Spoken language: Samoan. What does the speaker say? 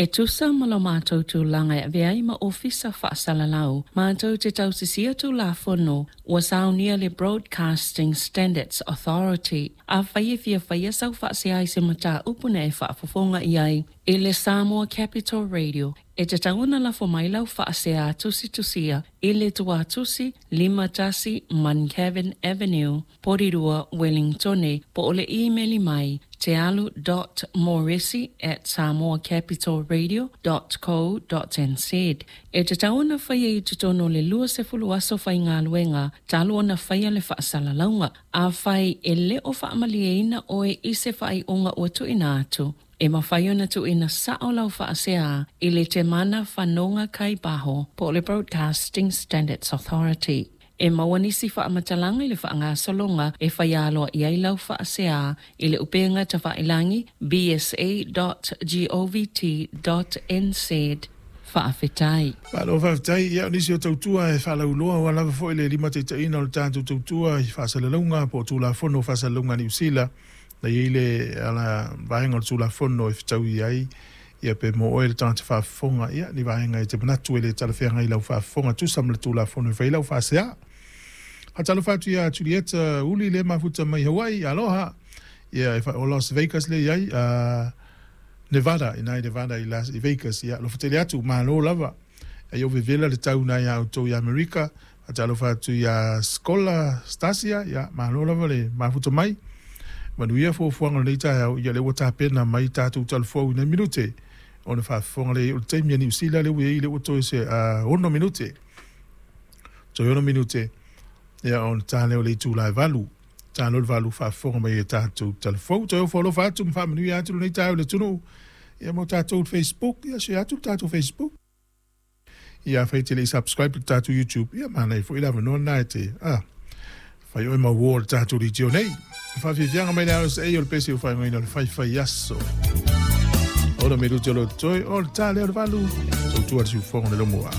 E tusa ma lo matou tulaga e avea ai ma Ofisa Faasalalau, matou te tausisia Tulafono ua saunia le Broadcasting Standards Authority. Afai e fia faia sau faasea i se mataupu na e faafofoga i ai i le Samoa Capital Radio, e tatau ona lafo mai lau faasea tusitusia i le tuatusi 51 Muncavan Avenue, Porirua, Wellingtone, po o le imeli mai tealu dot moresi at samoacapitalradio dot co dot nz. E tatau ona faia i totonu o le 20 aso faigaluega talu ona faia le faasalalauga. Afai e le o faamalieina oe i se faaiuga ua tuuina atu, e mafai ona tuuina sao lau faasea i le Temana Fanoga Kai Baho po o le Broadcasting Standards Authority. E maua nisi faamatalaga i le faagasologa e faia aloaia ai lau faasea i le upega tafailagi bsa dot govt dot nz. Faafetai. Malo faafetai. Ia, o nisi o tautua e faalauiloa aua lava foi le limataitaiina o le tatou tautua i faasalalauga po o Tulafono o Faasalalauga a Niu Sila, na i ai le ala vaega o le Tulafono e fetaui ai ia pe mo oe le tagata faafofoga, ia ni vaega e te manatu e le talafeagai i lau faafofoga tusa ma le Tulafono e fai ai lau faasea. Faatalofa atu ia Julieta Uli le mafuta mai Hawaii, aloha. Ia e o Las Vegas le i ai, Nevada, ina i Nevada i Las i Vegas, ia alofa tele atu, malo lava. Ai o vevela le tau na ia outou i Amerika. Faatalofa atu ia Skola Stasia, ia malo lava le mafuta mai. Manuia fuafuaga o lenei taeao, ia lea ua tapena mai tatou talafou i nai minute ona faafofoga lea i ai o le taimi a Niu Sila lea ua i ai lea ua toe se 6 minute. Toe 6 minute ia ona ta lea o le itula e 8. Ta loa le 8 faafofoga mai e tatou talafou. Toe ofo alofa atu ma faamanuia atu lenei taeao i le atunuu. Ia mo tatou Facebook, ia share atu le tatou Facebook. Ia afai e te le i subscribe i le tatou YouTube, ia manaia foi le avanoa lena e te a fai oe ma uo o le tatou leitio nei. Faafiafiaga mai le RSA o le pese o faaigoaina o le faifai aso. Ona me lute o lo totoe, o le tā lea o le valu, tautua le siufofoga le lomua.